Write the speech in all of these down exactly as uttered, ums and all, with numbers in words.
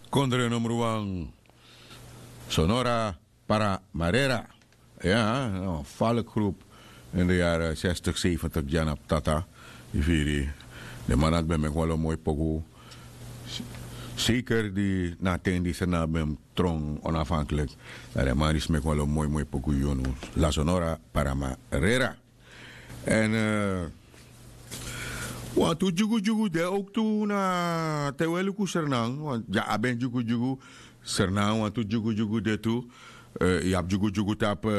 Kondre numru wan, Sonora Paramarera. Ya, no, falk groep. In de yaren zestig, zeventig dyan na ptata. Yu firi, den man dati ben meki wan lo moi poku. Zeker di na a ten di Sranan ben tron onafhankelijk. Dan den man disi meki wan lo moi moi poku yu no. La Sonora Paramarera. Èn wantu dyugudyugu de owktu na te un e luku Sranan, want dya abi en dyugudyugu. Sranan wantu dyugudyugu de tu. Yu abi dyugudyugu tapu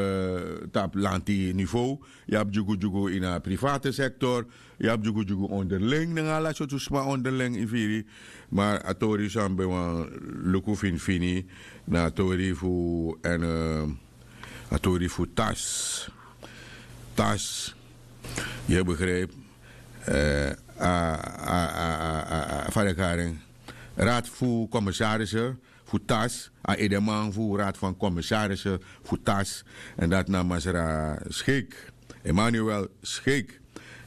lanti nivow. Yu abi dyugudyugu ini a private sektor. Yu abi dyugudyugu onderling nanga ala sortu sma onderling, yu firi. Ma a tori san mi ben wani luku finifini na a tori fu èn a tori fu tas. Tas, yu e begrijpi. A a a a a fa den kari en, raad fu kommisarissen fu tas, a edeman fu raad van kommisarissen fu tas. Èn dati na masra Scheik, Emmanuel Scheik.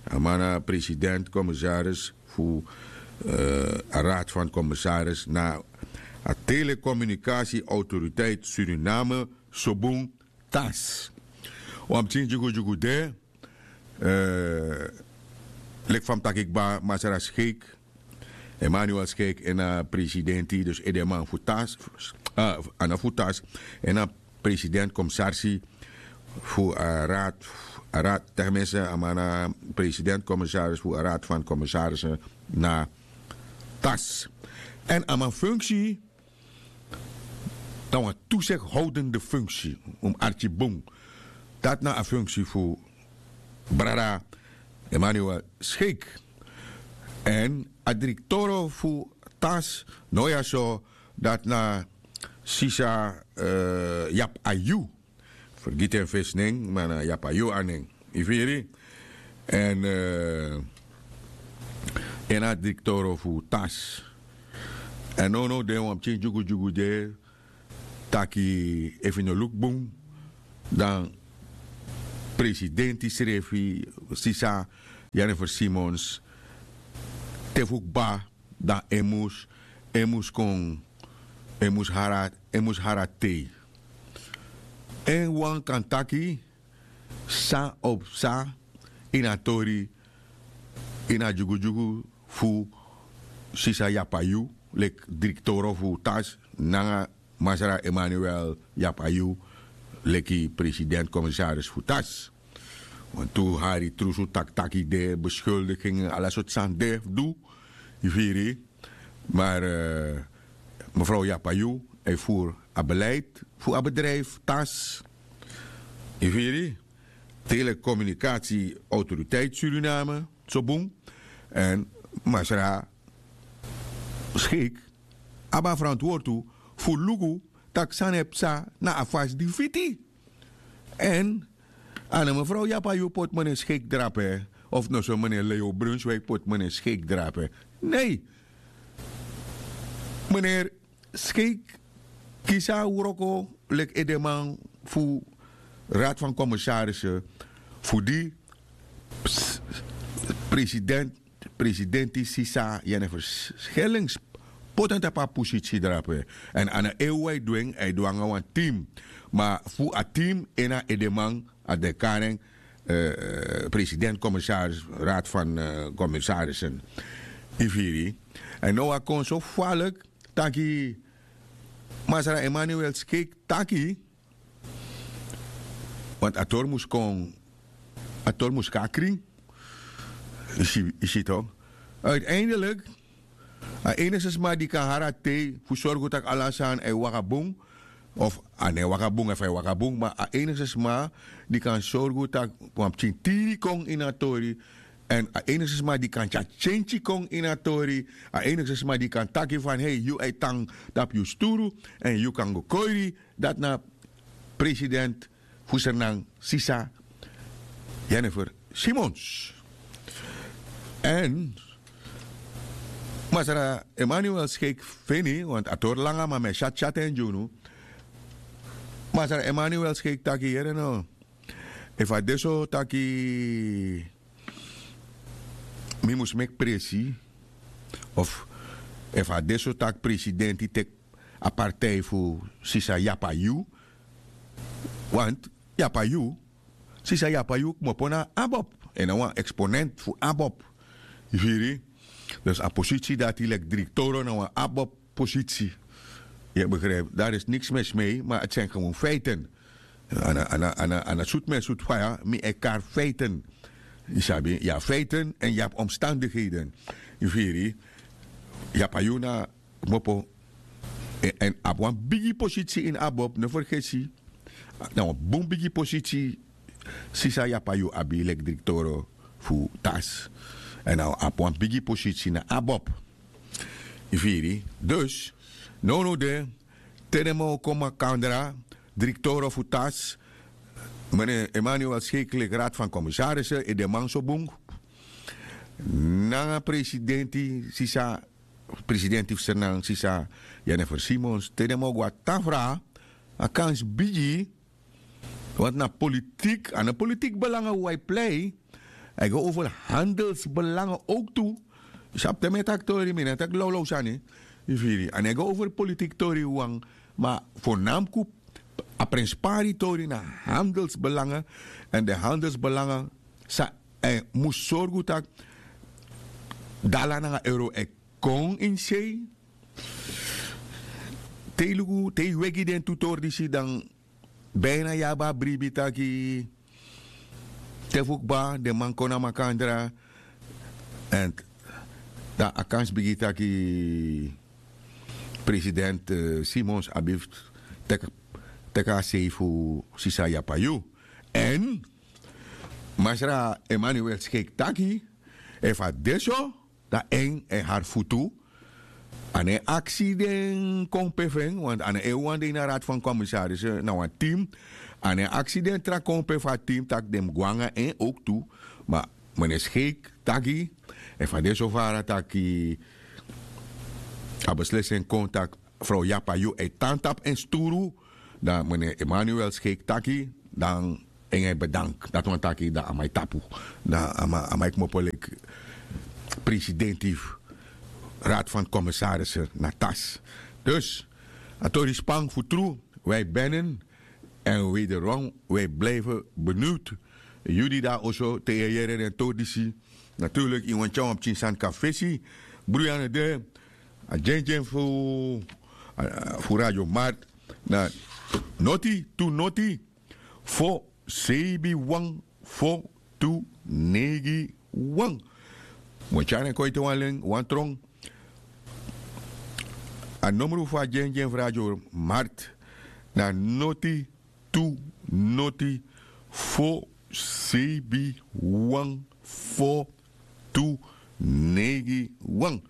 A man na president kommissaris fu a raad van kommissaris na a telecommunicatieautoriteit Suriname, Sobun, tas. Wan pikin dyugudyugu de. Leki fa mi taki kba, masra Scheik, Emmanuel Scheik, en a presidenti, dus edeman fu tas, a no fu tas, en a president kommisarsi fu a raad, a raad, tenminste a man na president kommissaris fu a raad van kommissaris na tas. Èn a man funksie dan wan toezichthoudende funksie, un mus arki bun. Dati na a funksie fu brada Emmanuel Scheik. Èn a direktoro fu tas no ya so, dati na sisa Yap Ayu. Fergiti en fesi nen, ma na Yap Ayu a nen. Yu firi? Èn en na direktoro fu tas. Èn nownow de wan pikin dyugudyugu de taki efu yu no luku bun, dan presidenti srefi, sisa Jennifer Simons, te fu kba, dan en mus, en mus kon, en mus hari a, en mus hari a tei. En wan kan taki san o psa ini a tori, ini a dyugudyugu fu sisa Yap Ayu leki direktoro fu tas nanga masra Emmanuel Yap Ayu leki president kommissaris fu tas. Wantu hari trusu taki taki de, beschuldiging, ala sortu sani de fu du. Yu firi? Maar mevrouw Yap Ayu e voer a beleid fu a bedrijf tas. Yu firi? Telecommunicatieautoriteit Suriname, Sobun. Èn masra Scheik abi a verantwoord tu fu luku tak' san e psa na a fasi di fiti. Èn a no mevrouw Yap Ayu poti meneer Scheik drape, of no so meneer Leo Brunswijk poti meneer Scheik drape. Nei. Meneer Scheik kisi a wroko leki edeman fu raad van commissarissen fu di president, presidenti sisa Jennifer Schellings poti en tapu a posisi drape. Èn a no en wawan e du en, a e du nanga wan team. Ma fu a team en na edeman, a de karen president commissaris, raad van commissarissen. Yu firi? Èn now a kon so falk taki masra Emmanuel Scheik taki, want a tori mus kon, a tori mus kon na krin. Yu si, yu si tok'? Uiteindelijk a enigste sma di kan hari a tei fu sorgu tak' ala sani e waka bun, of a no e waka bun, efu a e waka bun, ma a enigste sma di kan sorgu tak' wan pikin tiri kon ini a tori. Èn a enigste sma di kan tyari tyentyi kon ini a tori, a enigste sma di kan taki van hei, yu e tan tapu yu sturu èn yu kan go kori, dati na president fu Sranan sisa Jennifer Simons. Èn masra Emmanuel Scheik feni, want a tori langa ma mi e tyatyaten gi unu. Masra Emmanuel Scheik taki yere no, efu a de so taki mi mus meki presi, of efu a de so tak' presidenti teki a partij fu sisa yapayu. Want yapayu, sisa yapayu kmopo na abob, en na wan eksponent fu abob. Yu firi? Dus a posisi dati leki direktoro na wan abob posisi. Yu e begrijp, daar is niks mis mee, maar het zijn gewoon feiten. Ana sutu mi e sutu faya, mi e kari feiten. Yu sabi, yu abi feiten en yu abi omstandigheden. Yu firi? Yu abi a yu na kmopo. En abi wan bigi posisi ini abob, no fergesi. Na wan bun bigi posisi sisa yapayu abi leki direktoro fu tas. En a abi wan bigi posisi na abob. Yu firi? Dus nownow de, te den man o kon makandra, direktoro fu tas, mene emmanuel skeklek raad van komisarisen e de man so bun nanga presidenti sisa, presidenti fu sernan sisa jenefer simons, te den man o go a tafra, a kans bigi. Want na politik, a no politik belanga wi a e plei. A e go over handelsbelanga ouk tu. Yu sabi te mi e taki tori mi no e taki lawlaw sani. Yu firi? A no e go over politik tori wan. Ma fo namku a prenspari tori na handelsbelanga. Èn den handelsbelanga san e mus sorgu tak' dala nanga euro e kon ini sei. Te yu luku te yu wegi den tu tori disi dan bina yu abi a bribi taki te fu kba den man kon na makandra. Èn dan a kansi bigin taki president simons abi fu teki a sei fu sisa yapayu. Èn masra emmanuel skeik taki efu a de so dan en en hari futu. A no e aksi den kompe fu en want a no e wan de ini a rad fan komisaris na wan tim. A no e aksi den tra kompe fu a tim tak' den mus go nanga en owk tu. Ma mene skeik taki efu a de so fara taki a beslesi en kon tak' frow yapayu e tan tapu en sturu. Dan mene emmanuel skeik taki dan en e bedank dati wani taki dan a man e tapu. Dan a man e kmopo leki presidenti fu rad fan komisarisi na tas. Dus a tori span fu tru. Wi e benen èn wederom wi e blifi beniwtu. Yu di de na oso te yu e yere den tori disi naturlik yu wani tyari wan pikin sani kan fesi. Bruyane de a dyendyen fu radio mart na noti tu noti fo seibi wan fo tu neigi wan. Mi o tyari en kon ete wan len wan tron. A nomru fu a dyendyen fu radio mart na noti tu noti fo seibi wan fo tu neigi wan.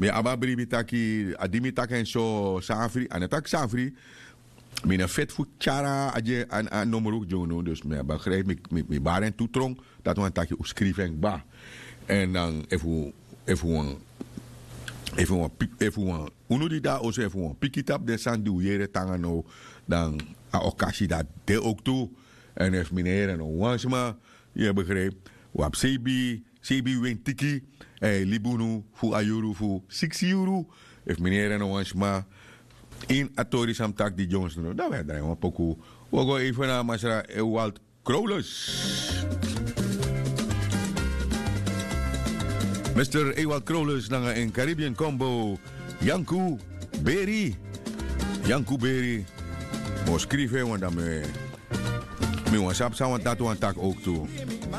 Mi abi a bribi taki a di mi taki en so safri a no taki safri. Mi no feti fu tyari a dyendyen a nomru dyondon dus mi abi a grijpi mi bari en tu trong. Dati wani taki un skrifi en kba. Èn dan efu efu wan efu wan unu di de na oso efu wan piki tapu den sani di un yere tanga now dan a okasi dati de owk tu. Èn efu mi no yere no wan sma yu e begrijpi un abi seibi seibi wentiki. Èn e libi unu fu a yuru fu siksi yuru. Efu mi no yere no wan sma ini a tori san mi taki di dyonson dan wi e drai wan poku. Wi o go even na masra ewald krowlus. Mister ewald krowlus nanga en caribbean combo. Yanku beri. Yanku beri. Mi o skrifi en wan dan mi wan sabi san wan dati wan taki owk tu.